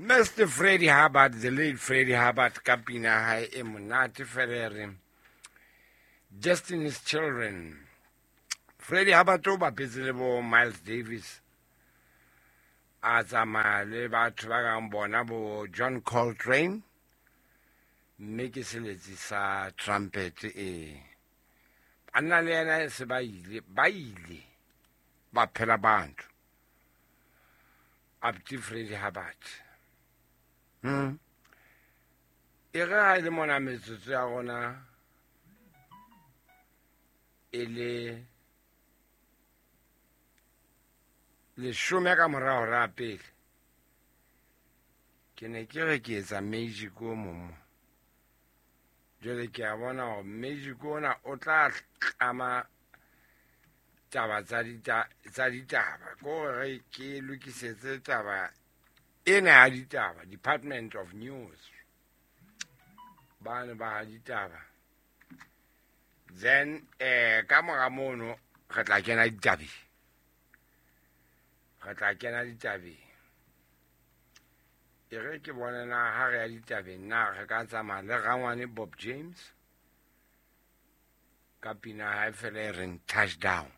Mr. Freddie Hubbard, the late Freddie Hubbard, ka pina ya hae e monate fela e reng Destiny's Children. Freddie Hubbard o bapetse le bo Miles Davis, a tsamaya le batho ba kang bona bo John Coltrane, mme ke seletsi sa trumpet e. Banna le yena se ba ile, ba ile ba phela batho. Abdi Freddie Hubbard. E re ha e le mona metsotso ya rona e le leshome ka mora hora ya pele, ke ne ke re ke etsa magic o mong mo. Jwale ke a bona hore magic ona o tla tlama taba tsa ditaba, ke hore ke lokisetse taba ena ya ditaba, Department of News, bane ba ditaba. Then ka mora mono re tla kena ditabeng, re tla kena ditabeng. E re ke bone na ha re ya ditabeng na re ka tsamaya le rangwane Bob James ka pina hae fela e reng Touchdown.